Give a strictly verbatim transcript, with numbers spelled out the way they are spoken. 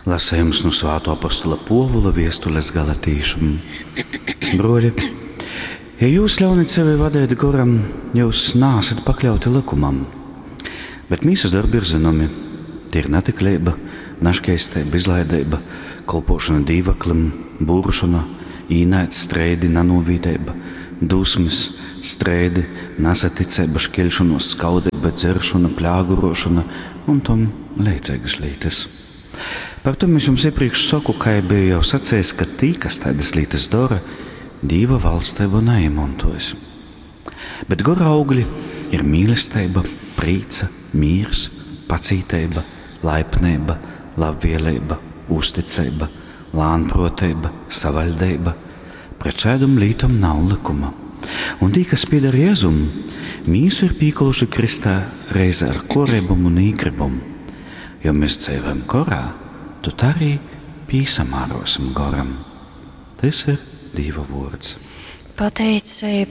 Lasējums nu Svātō apostola Pōvula viestules galatīšim. Broļi, ja jūs ļaunat sevi vadēt goram, jūs naesat pakļauti lykumam. Bet mīsas darbi ir zinomi. Tie ir natikleiba, naškeisteiba, izlaideiba, kolpošana dīvaklim, būršona, īnaids, streidi, nanūvīdeiba, dusmes, streidi, nasaticeiba, škeļšonuos, skaudeiba, dzeršona, pļāgurošona un tom leidzeigas lītas. Par to es jums iepriekš saku, kā biju jau sacījis, ka tī, kas tādas lietas dara, Dīva valstību neiemantojas. Bet gora augļi ir mīlestība, prīca, mīrs, pacītība, laipnība, labvēlība, uzticība, lānproteiba, savaļdeiba. Pret šādom lītom nav likuma. Un tī, kas pieder Jēzum, mīsu ir pīkoluši kristā reizē ar korebumu un īgribumu. Jo mēs dzīvojam korā, tad arī pīsamārosim goram. Tas ir Dīva vārds. Pateicība